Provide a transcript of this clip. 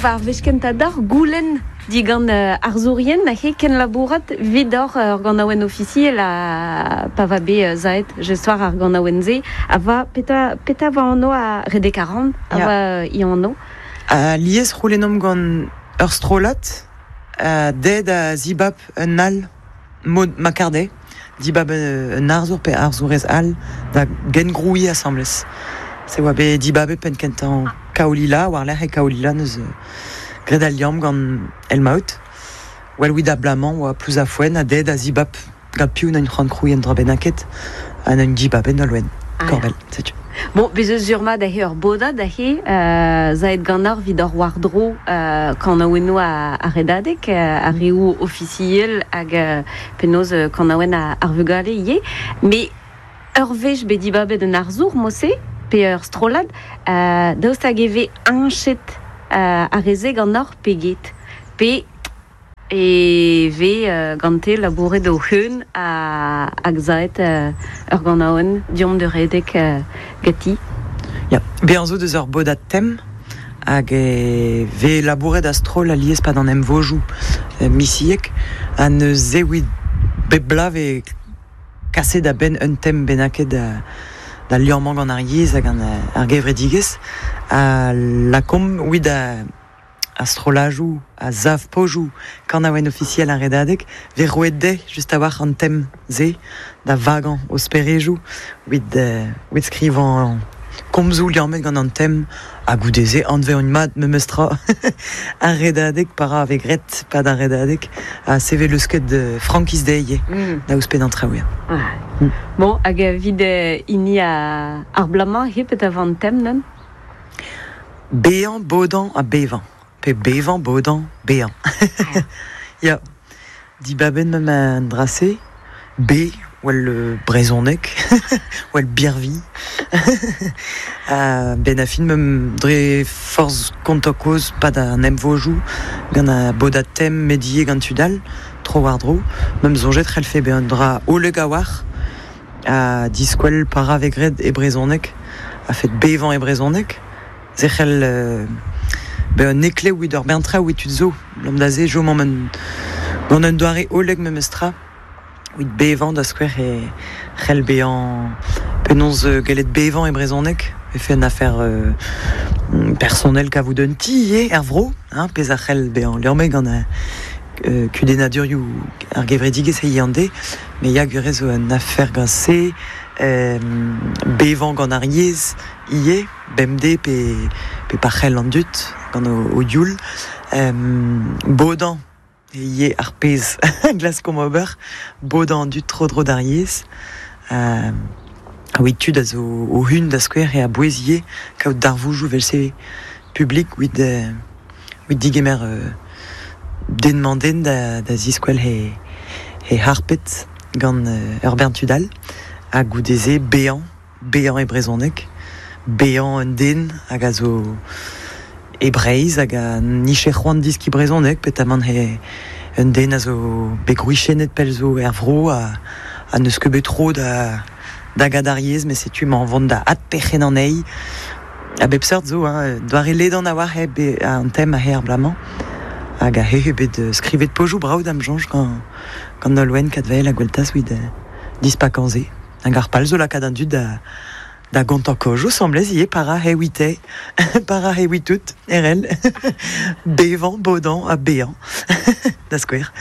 va ar wech kentañ deoc'h goulenn digant arzourien he kenlabourat 'vit ur ganaouenn ofisiel ha pa va bet zaet just war ar ganaouenn-se a va petra petra va anv a redek a ran a va i anv. Alies c'houlennomp gant ur strollad dezhe da zibab un all mod ma kar dezhe dibab un arzour pe arzourez all da gengrouiñ asambles. Se oa bet dibabet penn-kentañ Kaolila, war-lerc'h e Kaolila neus graet al liamm gant Elmaout. Well 'wit abalamour oa Plouzafouen ha dezhe da zibab gant piv n'eus c'hoant krouiñ un dra bennaket ha n'eus dibabet Nolwenn Korbell, setu. Bon, bez eus sur-mat aze ur bodad aze zaet ganeoc'h evit hor war-dro kanaouennoù ar redadeg, ar reoù ofisiel hag penaos kanaouenn ar vugale ivez. Mais ur wech bet dibabet un arzour mod-se, pe ur strollad, daoust hag e vez heñchet ar re-se ganeoc'h pe get? Pe e vez gante labouret o-c'heun hag saet ur ganaouenn deomp da redek ganti. Ya, bezañ zo deus ur bodad tem hag e vez labouret a-stroll alies 'pad an emvojoù misiek ha neuze evit bep bloaz 'vez kaset a-benn un tem bennaket da liammañ gant ar yezh ha gant ar gevredigezh ha lakaomp evit ar strollajoù a sav pozioù kanaouenn ofisiel ar Redadeg 'vez roet dezhe just a-walc'h an tem-se da vagañ o sperejoù evit evit skrivañ komzoù liammet gant an tem ha goude-se anveont mat memes tra ar Redadeg pa ra 'vez graet 'pad ar Redadeg ha sevel leusket frankiz dezhe ivez da ouzhpennañ traoù ya. Bon, hag evit hini ar bloaz-mañ hep da an tem neuze? Bezañ, bodañ ha bevañ. Pe bevañ, bodañ, bezañ. Ya, dibabet 'm an dra-se. Be, well brezhoneg, well birvilh. Ha benn ar fin 'm dre forzh kontañ kozh 'pad an emvojoù gant ar bodad tem met ivez gant tud all tro-war-dro, 'm soñjet c'hellfe bezañ un dra hollek a-walc'h ha diskwel para 'vez graet e brezhoneg a-fet bevañ e brezhoneg. Se c'hell bezañ un heklev evit ur bern traoù evit tud zo. Abalamour da se chomomp gant un doare hollek memestra evit bevañ da skouer e c'hell bezañ penaos gellet bevañ e brezhoneg vefe un afer personnel kavout un ti ivez er vro, hein, pezh a c'hell bezañ liammet gant kudennadurioù ar gevredigezh hiziv an deiz. Me ya gwir zo un afer gant se, bevañ gant ar yezh ivez, bemdez pe, pe pa c'hell an dud gant o youl. Bodañ ivez ar pezh a glaskomp ober, bodañ an dud tro-dro d'ar yezh. Evit tud a zo o-hun da skouer eo a-bouez ivez kaout darvoudoù evel-se publik evit evit digemer den-mañ-den da ziskwel he he harpet gant ur bern tud all ha goude-se bezañ bezañ e brezhoneg, bezañ un den hag a zo e Breizh hag a nije c'hoant deskiñ brezhoneg petamant he un den a zo bet gwriziennet pell zo er vro ha ha n'eus ket bet tro da da gad ar yezh met setu emañ vont da adperc'hennañ anezhi. A bep seurt zo, hein, doare ledan a-walc'h eo bet an tem aze ar bloaz-mañ hag aze eo bet skrivet pozioù brav da'm soñj gant gant Nolwenn Kadvael ha Gweltaz evit dispakañ se. Hag ar pal zo lakaat an dud da da gontañ kaojoù asambles ivez para he wite, para he witout, erell, bevañ, bodañ ha bezañ, da skouer.